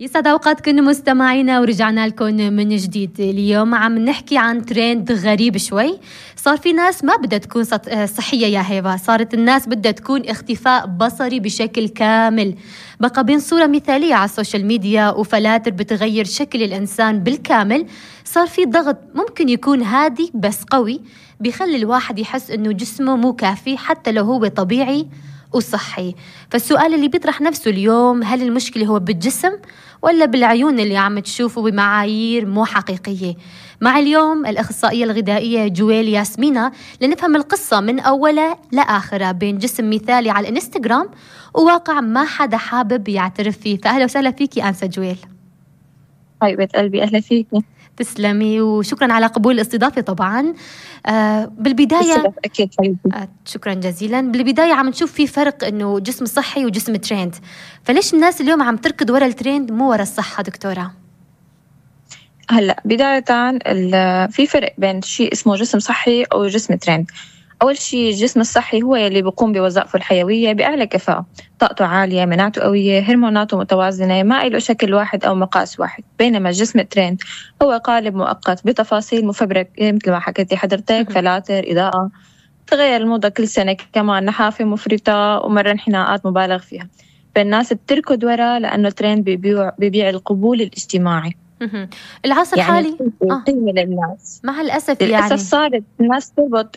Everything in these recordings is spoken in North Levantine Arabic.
يسعد أوقاتكم مستمعينا، ورجعنا لكم من جديد. اليوم عم نحكي عن ترند غريب شوي. صار في ناس ما بدها تكون صحية يا هيبة، صارت الناس بدها تكون اختفاء بصري بشكل كامل. بقى بين صورة مثالية على السوشيال ميديا وفلاتر بتغير شكل الإنسان بالكامل. صار في ضغط ممكن يكون هادي بس قوي، بيخلي الواحد يحس إنه جسمه مو كافي حتى لو هو طبيعي وصحي. فالسؤال اللي بيطرح نفسه اليوم، هل المشكلة هو بالجسم ولا بالعيون اللي عم تشوفه بمعايير مو حقيقية؟ مع اليوم الأخصائية الغذائية جويل ياسمينة لنفهم القصة من أولها لآخرها بين جسم مثالي على الإنستغرام وواقع ما حدا حابب يعترف فيه. فأهلا وسهلا فيكي أنسة جويل. حبيبة قلبي، أهلا فيكي. تسلمي وشكرا على قبول الاستضافة. طبعا بالبداية أكيد حبيبتي. شكرا جزيلا. بالبداية عم نشوف في فرق إنه جسم صحي وجسم تريند، فليش الناس اليوم عم تركض ورا التريند مو ورا الصحة دكتورة؟ هلأ بداية في فرق بين شيء اسمه جسم صحي أو جسم تريند. أول شيء الجسم الصحي هو يلي بيقوم بوظائفه الحيوية بأعلى كفاءة، طاقته عالية، مناعته قوية، هرموناته متوازنة، ما له شكل واحد أو مقاس واحد. بينما الجسم التريند هو قالب مؤقت بتفاصيل مفبركة مثل ما حكيتي حضرتك، فلاتر، إضاءة، تغير الموضة كل سنة، كمان نحافة مفرطة ومرة انحناءات مبالغ فيها. فالناس بتركض ورا لأنه التريند بيبيع القبول الاجتماعي. العصر الحالي قيمة للناس مع الأسف للأسف صارت الناس تربط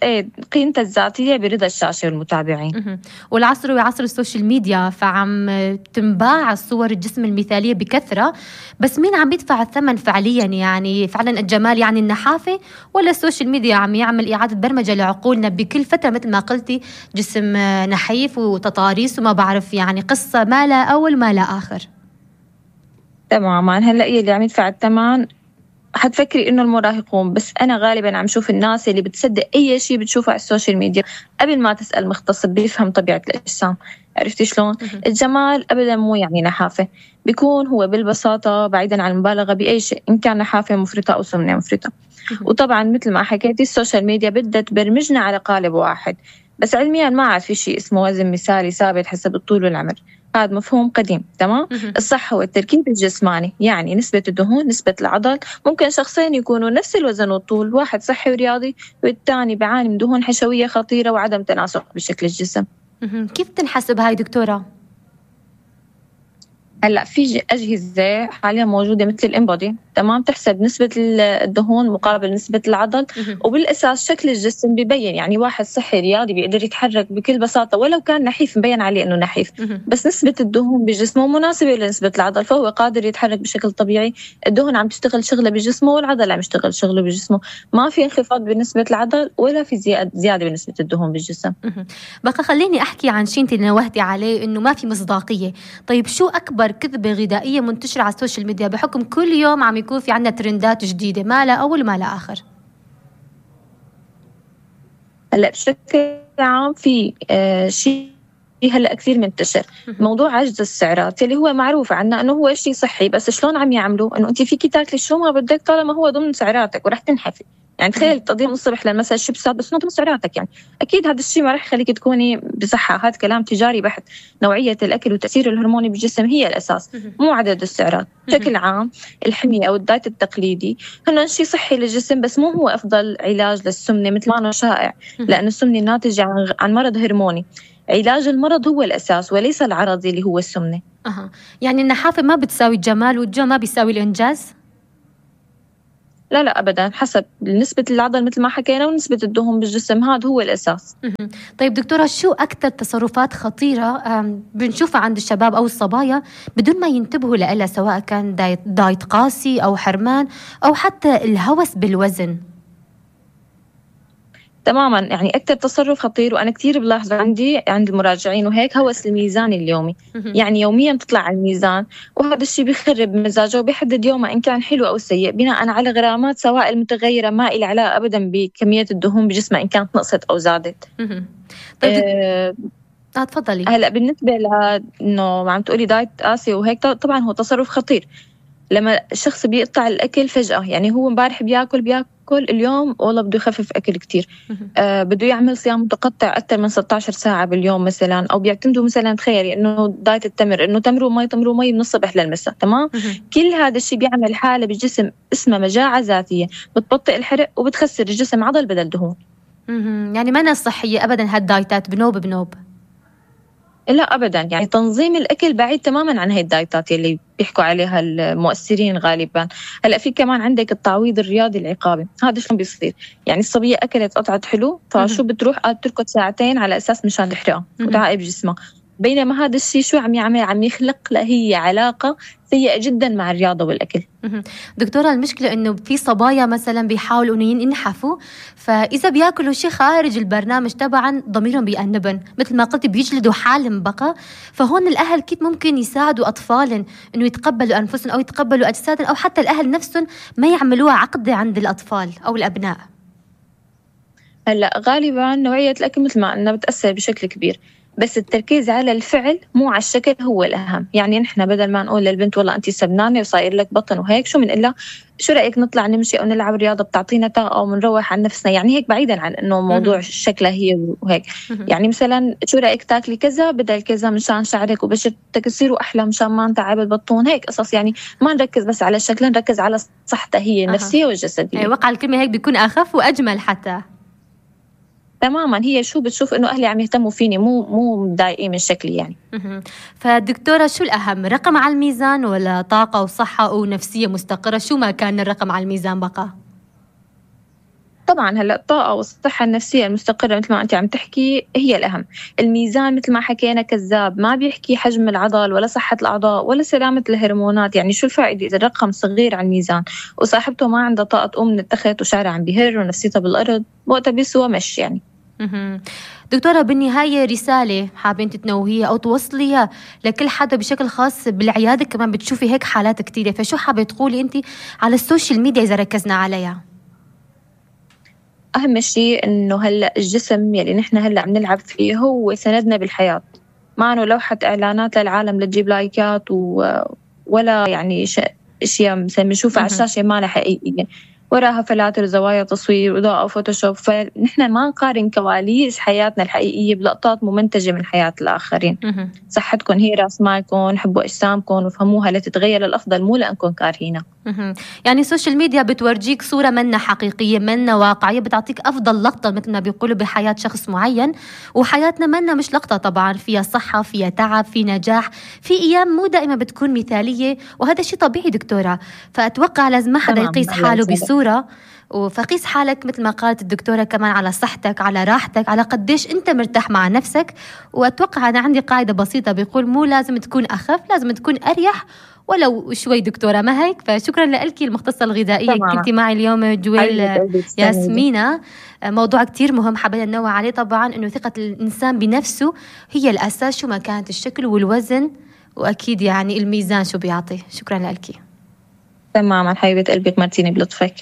قيمتها الذاتية برضا الشاشة والمتابعين. والعصر هو عصر السوشيال ميديا، فعم تنباع الصور الجسم المثالية بكثرة، بس مين عم يدفع الثمن فعليا؟ يعني فعلا الجمال يعني النحافة، ولا السوشيال ميديا عم يعمل إعادة برمجة لعقولنا بكل فترة مثل ما قلتي جسم نحيف وتطاريس وما بعرف، يعني قصة ما لا أول ما لا آخر. تماما. هلأ اللي عم يدفع الثمن حتفكري إنه المراهقون، بس أنا غالباً عم شوف الناس اللي بتصدق أي شيء بتشوفه على السوشيال ميديا قبل ما تسأل مختص بيفهم طبيعة الأجسام. عرفتي شلون؟ الجمال أبداً مو يعني نحافة، بيكون هو بالبساطة بعيداً عن المبالغة بأي شيء، إن كان نحافة مفرطة أو سمنة مفرطة. وطبعاً مثل ما حكيتي السوشيال ميديا بدها تبرمجنا على قالب واحد، بس علمياً ما عاد في شيء اسمه وزن مثالي ثابت حسب الطول والعمر. هذا مفهوم قديم. تمام. الصح هو التركيب الجسماني، يعني نسبة الدهون، نسبة العضل. ممكن شخصين يكونوا نفس الوزن والطول، واحد صحي ورياضي والثاني بعاني من دهون حشوية خطيرة وعدم تناسق بشكل الجسم. كيف تنحسب هاي دكتورة؟ هلا في أجهزة حاليا موجودة مثل الإنبودي، تمام، تحسب نسبة الدهون مقابل نسبة العضل، وبالأساس شكل الجسم بيبين. يعني واحد صحي رياضي بيقدر يتحرك بكل بساطة ولو كان نحيف، مبين عليه إنه نحيف، بس نسبة الدهون بجسمه مناسبة لنسبة العضل، فهو قادر يتحرك بشكل طبيعي. الدهون عم تشتغل شغلة بجسمه والعضل عم يشتغل شغله بجسمه، ما في انخفاض بنسبة العضل ولا في زيادة بنسبة الدهون بالجسم. بقى خليني أحكي عن شيء انت نوهتي عليه، إنه ما في مصداقية. طيب شو أكبر كذبة غذائية منتشرة على السوشيال ميديا بحكم كل يوم عم يكون في عنا ترندات جديدة ما لا أول ما لا آخر؟ هلا بشكل عام في شيء هلا كثير منتشر، موضوع عجز السعرات اللي هو معروف عنا انه هو شيء صحي، بس شلون عم يعملوا انه انت فيكي تاكلي شو ما بدك طالما هو ضمن سعراتك ورح تنحفي. يعني تخيل تقضي من الصبح للمساء شيبسات بس ضمن سعراتك، يعني اكيد هذا الشيء ما رح يخليك تكوني بصحه. هذا كلام تجاري بحت. نوعيه الاكل وتاثير الهرموني بالجسم هي الاساس، مو عدد السعرات. بشكل عام الحميه او الدايت التقليدي هن شيء صحي للجسم، بس مو هو افضل علاج للسمنه مثل ما انه شائع، لانه السمنه ناتجه عن مرض هرموني. علاج المرض هو الاساس وليس العرض اللي هو السمنه. يعني النحافه ما بتساوي الجمال والجو ما بيساوي الانجاز؟ لا لا أبداً، حسب نسبة العضل مثل ما حكينا ونسبة الدهون بالجسم، هذا هو الأساس. طيب دكتورة، شو أكثر تصرفات خطيرة بنشوفها عند الشباب أو الصبايا بدون ما ينتبهوا لها، سواء كان دايت قاسي أو حرمان أو حتى الهوس بالوزن؟ تماماً، يعني أكثر تصرف خطير وأنا كتير بلاحظ عند المراجعين وهيك، هوس الميزان اليومي. يعني يومياً تطلع على الميزان، وهذا الشيء بيخرب مزاجه وبيحدد يومه إن كان حلو أو سيء بناءً على غرامات سوائل متغيرة ما إلها علاقة أبداً بكمية الدهون بجسمه إن كانت نقصت أو زادت. تفضلي. هلأ بالنسبة لأنه عم تقولي دايت قاسي وهيك، طبعاً هو تصرف خطير لما الشخص بيقطع الأكل فجأة. يعني هو امبارح بياكل يأكل اليوم والله بده يخفف أكل كتير. بده يعمل صيام متقطع أكثر من 16 ساعة باليوم مثلا، أو بيعتمدوا مثلا تخيلي إنه دايت التمر، إنه تمر ومي من الصبح للمساء. تمام. كل هذا الشيء بيعمل حالة بالجسم اسمها مجاعة ذاتية، بتبطئ الحرق وبتخسر الجسم عضل بدل دهون. يعني ما صحية أبدا هالدايتات، بنوب. لا أبدا، يعني تنظيم الأكل بعيد تماما عن هاي الدايتات اللي بيحكوا عليها المؤثرين غالبا. هلا في كمان عندك التعويض الرياضي العقابي، هذا شلون بيصير؟ يعني الصبية أكلت قطعة حلو، فشو بتروح تركض ساعتين على أساس مشان تحرقها وتعاقب جسمها، بينما هذا الشيء شو عم يعمل؟ عم يخلق هي علاقة سيئة جدا مع الرياضة والأكل. دكتورة، المشكلة إنه في صبايا مثلا بيحاولوا إنه ينحفوا، فإذا بياكلوا شيء خارج البرنامج طبعا ضميرهم بيأنبن، مثل ما قلت بيجلدوا حالهم بقى. فهون الأهل كيف ممكن يساعدوا أطفالهم إنه يتقبلوا أنفسهم أو يتقبلوا أجسادهم، أو حتى الأهل نفسهم ما يعملوها عقدة عند الأطفال أو الأبناء؟ هلا غالبا نوعية الأكل مثل ما قلنا بتأثر بشكل كبير، بس التركيز على الفعل مو على الشكل هو الأهم. يعني نحن بدل ما نقول للبنت والله أنت سبنانة وصاير لك بطن وهيك، شو من إلا شو رأيك نطلع نمشي أو نلعب رياضة بتعطينا طاقة أو منروح عن نفسنا، يعني هيك بعيدا عن إنه موضوع شكلها هي وهيك. يعني مثلا شو رأيك تاكلي كذا بدل كذا مشان شعرك وبشرتك يصيروا أحلى، مشان ما نتعب البطون، هيك قصص. يعني ما نركز بس على الشكل، نركز على صحتها هي النفسية والجسدية. وقع الكلمة هيك بيكون أخف وأجمل حتى. تماما، هي شو بتشوف إنه أهلي عم يهتموا فيني، مو مضايقين من شكلي يعني. فالدكتورة شو الأهم، رقم على الميزان ولا طاقة وصحة ونفسية مستقرة؟ شو ما كان الرقم على الميزان بقى؟ طبعا هلا الطاقة والصحة النفسية المستقرة مثل ما أنت عم تحكي هي الأهم. الميزان مثل ما حكينا كذاب، ما بيحكي حجم العضل ولا صحة الأعضاء ولا سلامة الهرمونات. يعني شو الفائدة إذا الرقم صغير على الميزان وصاحبته ما عندها طاقة تقوم من التخت وشعرها عم بيهر ونفسيتها بالأرض، وقتها بيسوى مش يعني. دكتورة، بالنهاية رسالة حابين تتنوهيها أو توصليها لكل حدا بشكل خاص بالعيادة، كمان بتشوفي هيك حالات كتيرة، فشو حابة تقولي أنت على السوشيال ميديا إذا ركزنا عليها؟ أهم شيء إنه هلأ الجسم يلي نحن هلأ عم نلعب فيه هو سندنا بالحياة، ما إنه لوحة إعلانات للعالم لتجيب لايكات ولا يعني أشياء مثلا بنشوفها على الشاشة ما لها حقيقية، وراها فلاتر زوايا تصوير وإضاءة وفوتوشوب. فنحن ما نقارن كواليس حياتنا الحقيقية بلقطات ممنتجة من حياة الآخرين. صحتكم هي رأس مالكم، حبوا أجسامكم وفهموها لتتغير للأفضل، مو لأنكم كارهينها. يعني السوشيال ميديا بتورجيك صورة منا حقيقية، منا واقعية، بتعطيك أفضل لقطة مثل ما بيقولوا بحياة شخص معين، وحياتنا منا مش لقطة طبعا، فيها صحة، فيها تعب، في نجاح، في أيام مو دائما بتكون مثالية، وهذا شيء طبيعي دكتورة. فأتوقع لازم ما حدا يقيس حاله بصورة، فقيس حالك مثل ما قالت الدكتورة كمان على صحتك، على راحتك، على قديش أنت مرتاح مع نفسك. وأتوقع أنا عندي قاعدة بسيطة بيقول مو لازم تكون أخف، لازم تكون أريح ولو شوي دكتورة، ما هيك؟ فشكرا لك المختصة الغذائية، كنتي معي اليوم جويل ياسمينة. موضوع كتير مهم حابين ننوه عليه طبعا، إنه ثقة الإنسان بنفسه هي الأساس، شو ما كانت الشكل والوزن، وأكيد يعني الميزان شو بيعطي. شكرا لك. تماما حبيبة قلبي، مرتيني بلطفك.